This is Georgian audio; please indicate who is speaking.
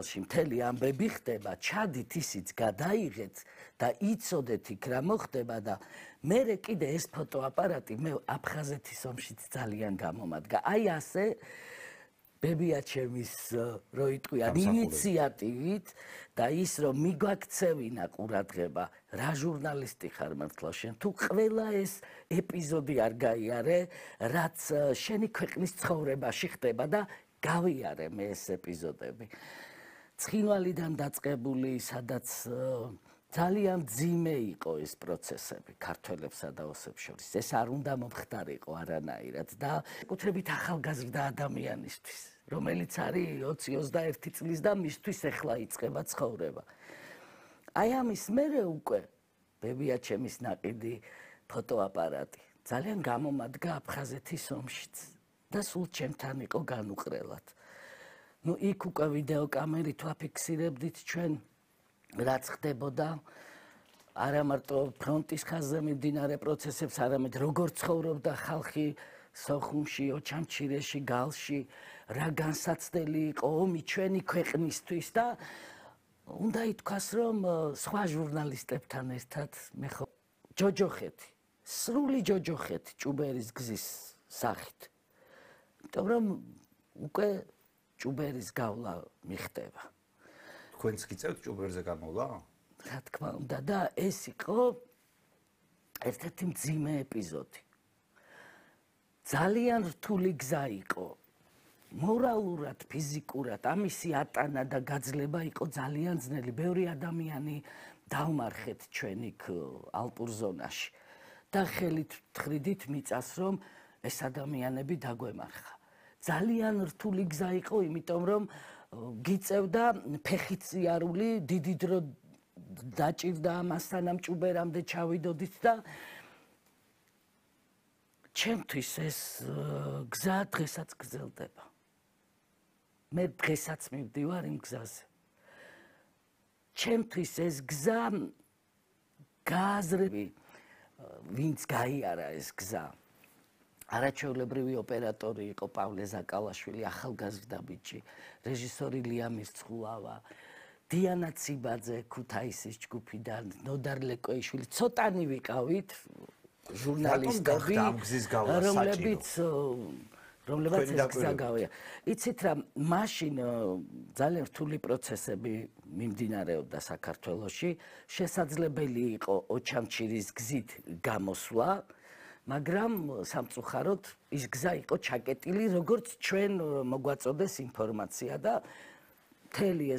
Speaker 1: მთელი ამბები ხდება, ჩადით ისიც გადაიღეთ და იცოდეთ იქ რა მოხდება და მერე კიდე ეს ფოტოაპარატი მე აფხაზეთის ომშიც ძალიან გამომადგა. აი ასე ბებიაჩემის რო იტყვია ინიციატივით და ის რომ მიგვაქცევინა ყურადღება რა ჟურნალისტი ხარ მართლა შენ თუ ყველა ეს ეპიზოდი არ გაიარე რაც შენი ქვეყნის ცხოვრებაში ხდება და გავიარე მე ეს ეპიზოდები ცხინვალიდან დაწყებული სადაც ძალიან ძიმე იყო ეს პროცესები ქართველებსა და ოსებს შორის ეს არ უნდა მომხდარიყო არანაირად და კუთრებით ახალგაზრდა ადამიანისთვის რომელიც არის 20-21 წლის და მისთვის ეხლა იწყება ცხოვრება აი ამის მერე უკვე ბებიაჩემის ნაყიდი ფოტოაპარატი ძალიან გამომადგა აფხაზეთის ომშიც და სულ ჩემთან იყო განუყრელად ნუ იქ უკვე ვიდეო კამერით ვაფიქსირებდით ჩვენ რაც ხდებოდა არა მარტო ფრონტის ხაზზე მიმდინარე პროცესებს, არამედ როგორ ცხოვრობდა ხალხი სოხუმში, ოჩამჩირეში, გალში, რა განსაცდელი იყო ომი ჩვენი ქვეყნისთვის და უნდა ითქვას, რომ სხვა ჟურნალისტებთან ერთად მე ხო ჯოჯოხეთი, სრული ჯოჯოხეთი ჭუბერის გზის სახით. იმიტომ რომ უკვე ჭუბერის გავლა მიხდება.
Speaker 2: თქვენც გიწევთ ჭუბერზე გამოვლა?
Speaker 1: რა თქმა უნდა და ეს იყო ერთ-ერთი მძიმე ეპიზოდი. ძალიან რთული გზა იყო. მორალურად, ფიზიკურად ამისი ატანა და გაძლება იყო ძალიან ძნელი. ბევრი ადამიანი დავმარხეთ ჩვენ იქ ალპურ ზონაში. და ხელით თხრიდით მიწას რომ ეს ადამიანები დაგვემარხა. ძალიან რთული გზა იყო, იმიტომ რომ გიწევდა ფეხით სიარული, დიდი დრო დაჭირდა ამასთან ამ ჭუბერამდე ჩავიდოდით და ჩემთვის ეს გზა დღესაც გრძელდება. მე დღესაც მივდივარ იმ გზაზე. ჩემთვის ეს გზა გააზრები, ვინც გაიარა ეს გზა. არაჩვეულებრივი ოპერატორი იყო პავლე ზაკალაშვილი, ახალგაზრდა ბიჭი, რეჟისორი ლია მირცხულავა, დიანა ციბაძე ქუთაისის ჯგუფიდან, ნოდარ ლეკოიშვილი, ცოტანი ვიყავით ჟურნალისტები, რომლებიც ეს გზა გავია. იცით რა, მაშინ ძალიან რთული პროცესები მიმდინარეობდა საქართველოში, შესაძლებელი იყო ოჩამჩირის გზით გამოსვლა, მაგრამ სამწუხაროდ ის გზა იყო ჩაკეტილი, როგორც ჩვენ მოგვაწოდეს ინფორმაცია და მთელი ეს